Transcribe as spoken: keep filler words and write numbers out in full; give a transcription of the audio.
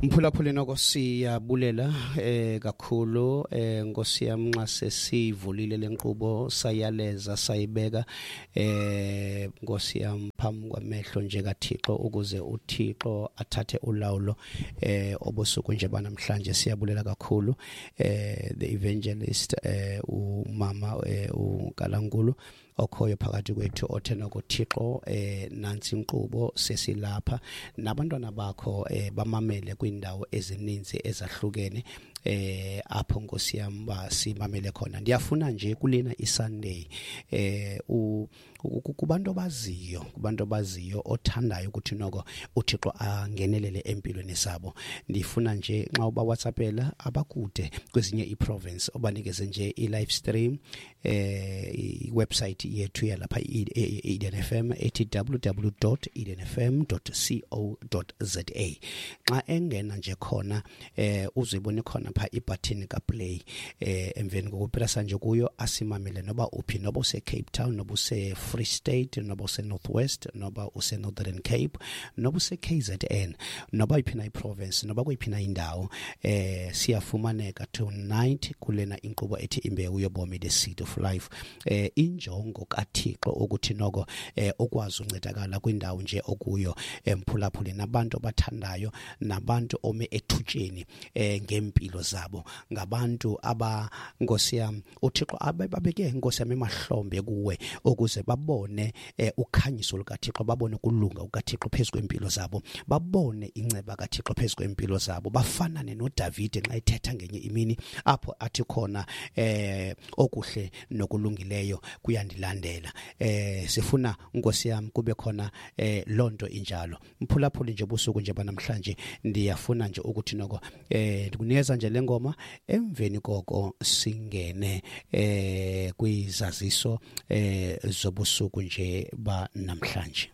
Mphulaphuli, noko siyabulela eh kakhulu eh Nkosi yam, nxa sesivulile lenkqubo, sayaleza, sayibeka eh Nkosi yam phambi kwamehlo nje kaThixo ukuze uThixo athathe ulawulo eh obusuku nje banamhlanje. Siyabulela kakhulu eh the evangelist eh umama eh uNkalankulu okhoyo phakathi kwethu, othe noko Thixo eh nansi inkqubo, sesilapha nabantwana bakho eh bamamele kwindawo ezininzi ezahlukene eh apho, Nkosi yam, basimamele khona. Ndiyafuna nje kulena iSunday eh u kubantu abaziyo kubantu abaziyo othandayo ukuthi noko uThixo angenelele empilweni zabo, ndifuna nje nxa uba WhatsAppela abakude kwezinye iprovince, obanikeze nje i-live stream eh i-website yethu yalapha i-Eden F M ethi w w w dot edenfm dot co dot za. Xa engena nje khona eh uzibone khona pha ibutton ka play. eh emveni kokupressa nje kuyo, asimamele noba uphi, noba use Cape Town, noba use Free State, noba use North West, noba use Northern Cape, noba use K Z N, noba iphi na iprovince, noba kuyiphi na indawo, eh siyafumaneka tonight kulena inkqubo ethi Imbewu Yobomi, The Seed of Life. eh injongo kaThixo ukuthi noko eh ukwazi uncedakala kwindawo nje okuyo, emphulaphuli, nabantu abathandayo, nabantu ome ethutsheni eh ngempilo zabo, ngabantu aba, Nkosi yam, uThixo ababeke, Nkosi yam, emahlombe kuwe ukuze babone eh, ukhanyiso lukaThixo, babone ukulunga kukaThixo phezu kwempilo zabo, babone inceba kaThixo phezu kwempilo zabo, bafanane noDavide xa ethetha ngenye imini apho athi khona eh okuhle nokulungileyo kuyandilandela. eh sifuna Nkosi yam kube khona eh lonto injalo. Mphulaphuli, nje busuku nje banamhlanje ndiyafuna nje ukuthi noko eh ndikunikeza nje lengoma, emveni koko singene eh kwizaziso eh zobusuku nje ba namhlanje.